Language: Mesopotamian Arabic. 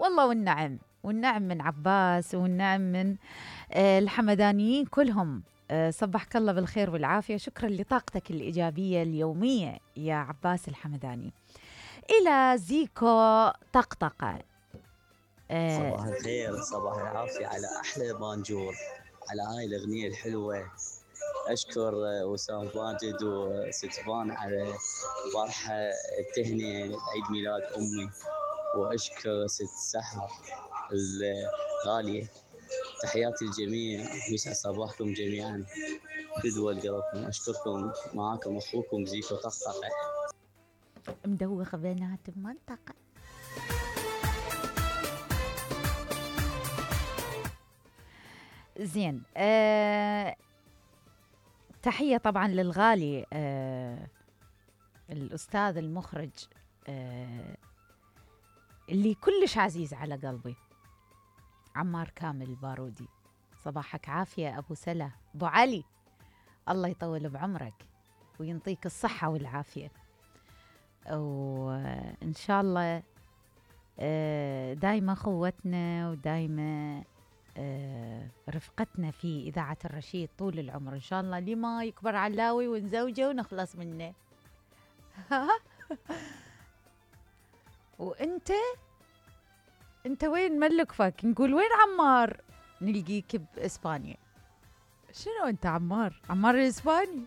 والله والنعم، والنعم من عباس، والنعم من الحمدانيين كلهم. صبحك الله بالخير والعافية. شكرا لطاقتك الإيجابية اليومية يا عباس الحمداني. إلى زيكو طقطقة. صباح الخير، صباح العافية على أحلى بانجور، على هاي الأغنية الحلوة. أشكر وسام ماجد وستفان على البارحة التهنئة عيد ميلاد أمي، وأشكر ست سحر الغالية. تحياتي للجميع، يسعد صباحكم جميعا، بدول قلبكم. أشكركم، معاكم أخوكم زيكو طقطقة. مدوخ بنات المنطقة. زين. تحية طبعا للغالي الأستاذ المخرج اللي كلش عزيز على قلبي، عمار كامل البارودي. صباحك عافية أبو سلا، أبو علي، الله يطول بعمرك وينطيك الصحة والعافية، وإن شاء الله دايما خوتنا ودايما رفقتنا في إذاعة الرشيد طول العمر إن شاء الله، لما يكبر علاوي ونزوجه ونخلص منه. وانت وين ملكفك؟ نقول وين عمار؟ نلقيك بإسبانيا. شنو انت عمار الإسباني؟